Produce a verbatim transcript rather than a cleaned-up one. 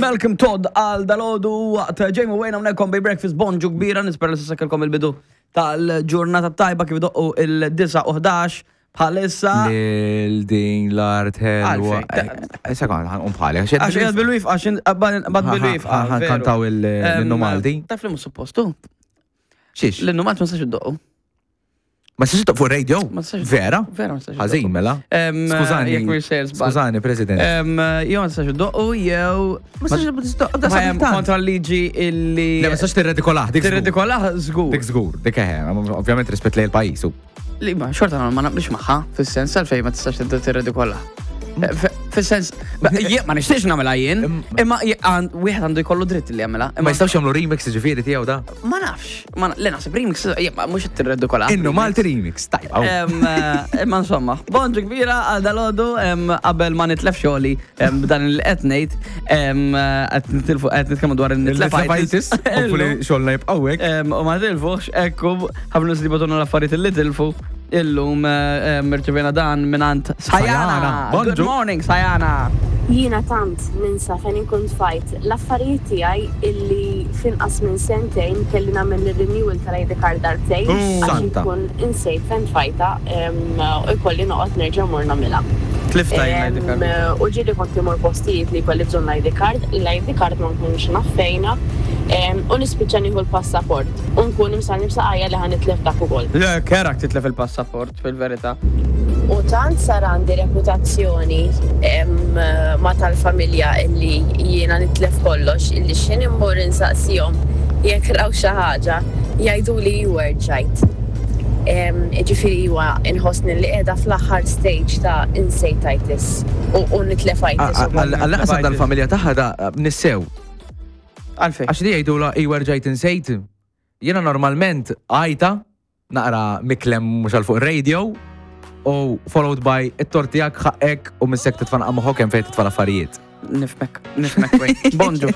Malcolm Todd għal dalgħodu waqt Jamie Wayne hawnhekk on Breakfast. Bonġu kbira, nispera li s'issa il-bidu tal-ġurnata tajba kif doqqu il-disgħa u ħdax bħalissa. Lil din l-art ħelwa. Għalfejn? Sekond, ħa nqum bħali. Għax għad bil-wif, għax bad bil-wif. Ħa nkantaw l-innu Malti. Taf li mhux suppostu. Xiex? L-innu Malti ma tistax iddoqqu. Ma tistax fuq radio? Ma tistax. Vera? Vera ma tistax. Ħażin mela. Skużani. Jekk mhux sejjer żball. Skużani, President. Jew ma tistax iddoqqu jew. Ma tistax Ma kontra l-liġi illi. Le, ma tistax tirredikolah, dik żgur. Tirredikolah żgur. Dik żgur, dik eħe, ovvjament rispett lejn il-pajjiż. u. Li ma xorta ma naqblix magħha, fis-sens għalfejn ma tistax tirredikolah. Fis-sens, jien ma nixtieqx nagħmilha jien, imma wieħed għandu jkollu dritt li jagħmilha. Ma jistgħux jagħmlu remix ġifieri tiegħu da. Ma nafx, ma le naħseb remix, jien ma mhux tirredikolah. Innu Malti remix, tajba. Em, eh, Imma insomma, bonġu kbira għal dalgħodu, qabel ma nitlef xogħli b'dan il qed ngħid, em, qed nitilfu qed nitkellmu dwar Il-Nitlefajtis, il-nitlefajtis. hopefully xogħolna jibqgħu hekk. Em, U ma tilfux, ekku, ħafna nies li bagħtulna l-affarijiet li tilfu. Illum eh, em, irċevejna dan mingħand Sajana. Sajana, Good bonġu. morning, Sajana. Jiena tant ninsa fejn inkun tfajt l-affarijiet tiegħi illi finqas minn sentejn kelli nagħmel ir-renewal tal-I D card darbtejn għax Santa. inkun insejt fejn tfajta em, u jkolli noqgħod nerġa' mmur nagħmilha. Tlifta jien L-I D card. Em, U ġieli kont imur postijiet li jkolli bżonn l-I D card, l-I D card ma nkunx naf fejna em, u nispiċċa nieħu l-passaport u nkun imsallni b'saqajja li ħa nitlef dak ukoll. Le, kerak titlef il-passaport, fil-verità. U tant sar għandi reputazzjoni em, ma tal-familja illi jiena nitlef kollox, illi x'ħin immur insaqsihom jekk raw xi ħaġa, jgħidu li werġajt. Ġifieri huwa inħossni li qiegħda fl-aħħar stage ta' insejtitis u, u nitlefitis ukoll. Għall-qasam dal-familja tagħha da nissew. Għalfejn. Għax li jgħidu la iwerġajt insejt. Jiena normalment għajta naqra miklem mhux għal fuq radio u followed by it-tort tiegħek, ħaqek u missek titfa' moħħok hemm fejn titfa' l-affarijiet. Nifhmek, nifhmek, wait. Bonġu.